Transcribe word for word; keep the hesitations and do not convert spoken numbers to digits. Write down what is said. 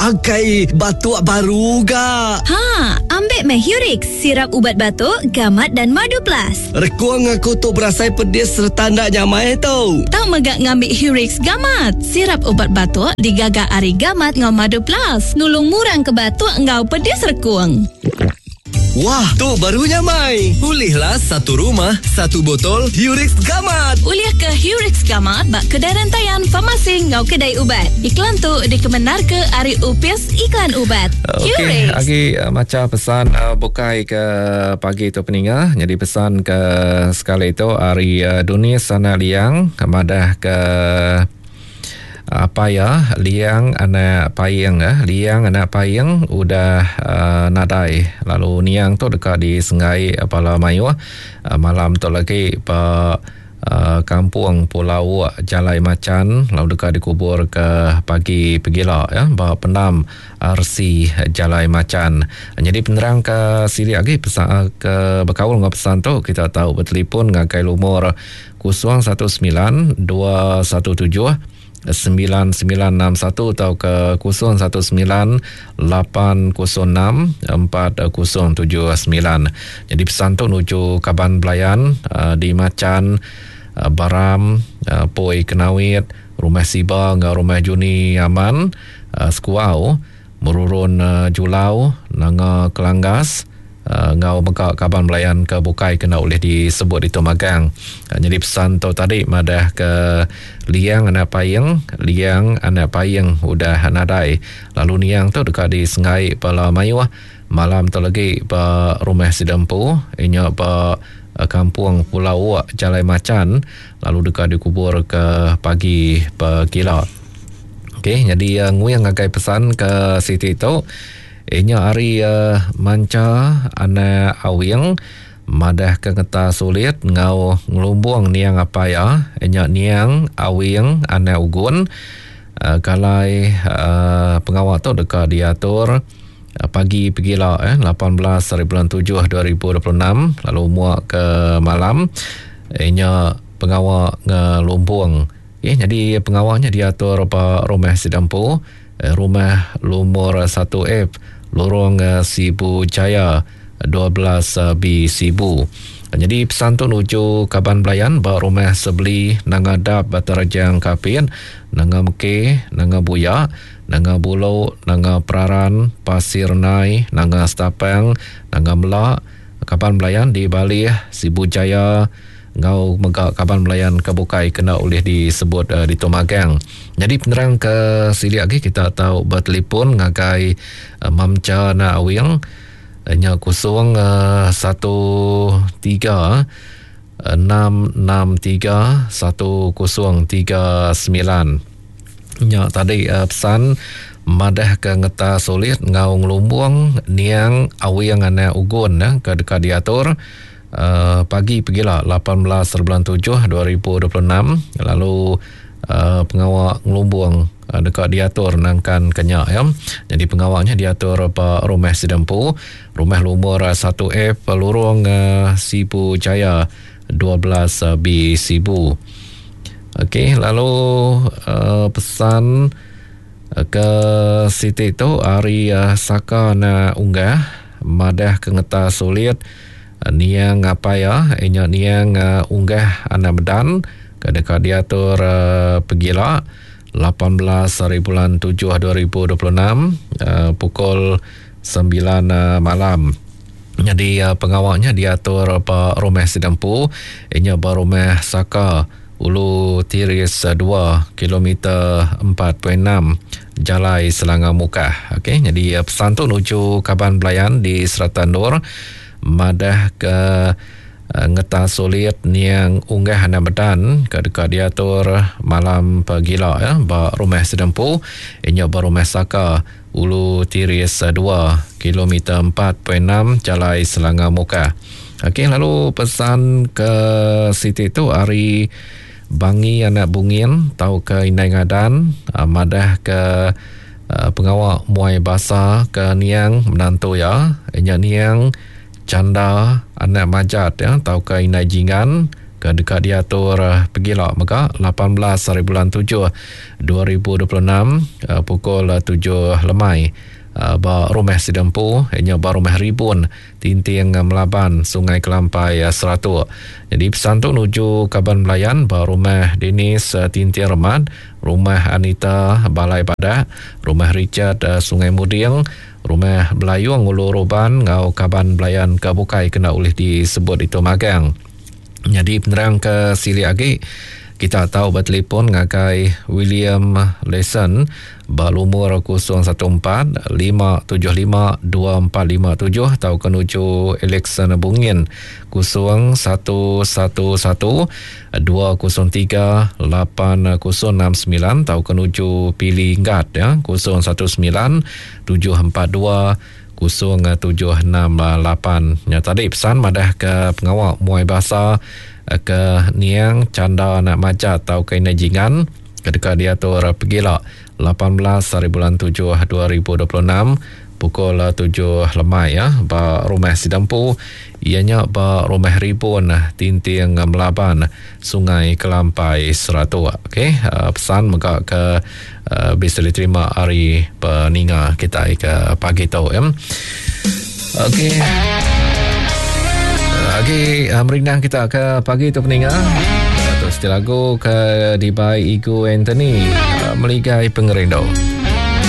Akai batuk baru ga. Ha, ambil meh Hurix, sirap ubat batuk, gamat dan madu plus. Rekuang aku tu berasai pedis serta ndak nyamai tu. Tau megak ngambil Hurix gamat. Sirap ubat batuk digaga ari gamat ngau madu plus. Nulung murang ke batuk ngau pedis rekuang. Wah, tu baru nyamai. Ulihlah satu rumah, satu botol Hurix Gamat. Ulih ke Hurix Gamat bak kedai rantaian farmasi ngau kedai ubat. Iklan tu dikemenar ke ari Upis Iklan Ubat. Okey, agi uh, maca pesan uh, bukai ke pagi tu peninga. Jadi pesan ke sekali itu ari uh, Dunia Sana Liang madah ke apa ya liang anak payeng eh liang anak payeng udah uh, nadai lalu niang tu dekat di Sengai Pala Mayuh uh, malam tu lagi pa uh, kampung Pulau Jalai Macan lalu dekat dikubur ke pagi pegila ya ba pendam R C Jalai Macan. Jadi penerang ke siri lagi pesan ke berkaul dengan pesan tu kita tahu bertelefon ngagai lumur kosong satu sembilan dua satu tujuh sembilan sembilan enam satu atau ke kosong satu sembilan lapan kosong enam empat kosong tujuh sembilan. Jadi pesan tu menuju Kaban Belayan uh, di Macan, uh, Baram, uh, Poi Kenawit, Rumah Siba ngau Rumah Juni Aman, uh, Sekuau, Merurun uh, Julau, Nanga Kelanggas, Uh, ngau mega Kaban Belayan ke bukai kena oleh disebut itu magang. Uh, jadi pesan tu tadi madah ke liang anak payeng, liang anak payeng udah nadai. Lalu niang tu dekat di Sengai Pala Mayuh malam tu lagi ba rumah Sidempu, inya ba kampung Pulau Wak Jalai Macan lalu dekat dikubur ke pagi pegila. Okey, jadi uh, nguyang ngagai pesan ke siti tu. Inya hari uh, manca anak awing madah ke ngeta sulit ngau ngelumbung niang apa ya inya niang awing anak ugun uh, kalai uh, pengawal tu dekat diatur uh, pagi pegila eh lapan belas hari bulan tujuh dua ribu dua puluh enam lalu muak ke malam inya pengawal ngelumbung. Okay, jadi pengawalnya diatur ba rumah Sidampu, rumah lumur satu F Lorong Sibu Jaya dua belas B Sibu. Jadi pesan tu nuju Kaban Belayan ba rumah Sebeli Nanga Dap Batarajang Kapin, Nanga Meke, Nanga Buya, Nanga Bulo, Nanga Peraran, Pasir Nai, Nanga Stapang, Nanga Melak, Kaban Belayan di Bali Sibu Jaya ngau mega Kaban Belayan ke bukai kena oleh disebut uh, di Tomagang. Jadi penerang ke silik lagi kita tahu bertelefon ngagai uh, Mamca na awing nya kosong uh, satu tiga enam enam tiga satu kosong tiga sembilan. Nya tadi uh, pesan madah ke ngeta sulit ngau ngelumbung niang awing anak ugun eh, ke dekat diatur Uh, pagi pegila lapan belas bulan tujuh dua ribu dua puluh enam lalu uh, pengawal ngelumbung uh, dekat diatur nangkan kenyak ya. Jadi pengawalnya diatur pa rumah Sidempu, rumah lumur satu F Lorong uh, Sibu Jaya dua belas B Sibu. Okey, lalu uh, pesan uh, ke siti tu hari uh, Saka na unggah madah ke ngeta sulit niang apa ya inya niang uh, unggah anak medan ke dekat diatur uh, pegila lapan belas hari bulan tujuh dua ribu dua puluh enam uh, pukul sembilan uh, malam. Jadi uh, pengawalnya diatur pa rumah Sidempu, inya ba rumah Saka Ulu Tiris dua kilometer empat perpuluhan enam Jalai Selangor Mukah. Okey, jadi uh, pesan tu nuju Kaban Belayan di Serata Nur madah ke uh, ngeta sulit niang unggah anak medan ke dekat diatur malam pegila ya ba rumah Sidempu, inya ba rumah Saka Ulu Tiris dua kilometer empat perpuluhan enam Jalai Selangor Mukah. Okey, lalu pesan ke siti tu hari Bangi anak Bungin tau ke Indai Ngadan uh, madah ke uh, pengawal muai basa ke niang menantu ya inya niang Canda anak Majat ya tau ke Indai Jingan ke ke deka diatur pegila mega lapan belas hari bulan tujuh dua ribu dua puluh enam pukul tujuh lemai ba rumah Sidempu nya ba rumah Ribun Tinting Melaban Sungai Kelampai Seratuk. Jadi pesan tu nuju kaban belayan ba rumah Dennis Tinting Remat, rumah Anita Balai Badak, rumah Richard Sungai Muding, rumah Belayung Ulu Ruban ngau kaban belayan ke bukai kena ulih disebut itu magang. Jadi penerang ke silik agi kita tahu bertelefon ngagai William Leson ba lumur kosong satu empat lima tujuh lima dua empat lima tujuh atau ke nuju Alexander Bungin kosong satu satu satu dua kosong tiga lapan kosong enam sembilan atau ke nuju Pili Nggat ya kosong satu sembilan tujuh empat dua kosong tujuh enam lapan. Ya tadi pesan madah ke pengawal muai bahasa ke Niang Canda Anak Majat atau ke Ina Jingan ketika diatur pegila lapan belas hari bulan tujuh dua ribu dua puluh enam pukul tujuh lemai ya ba rumah Sidempu ianya ba rumah Ribun Tinting Melaban Sungai Kelampai Seratuk. Okey, pesan mega ke bisa diterima hari peninga kita ke pagi tu ya. Okey. Okey, merindang kita ke pagi tu peninga. Terus lagu ke dibai Igu Anthony Meligai Pengerindu.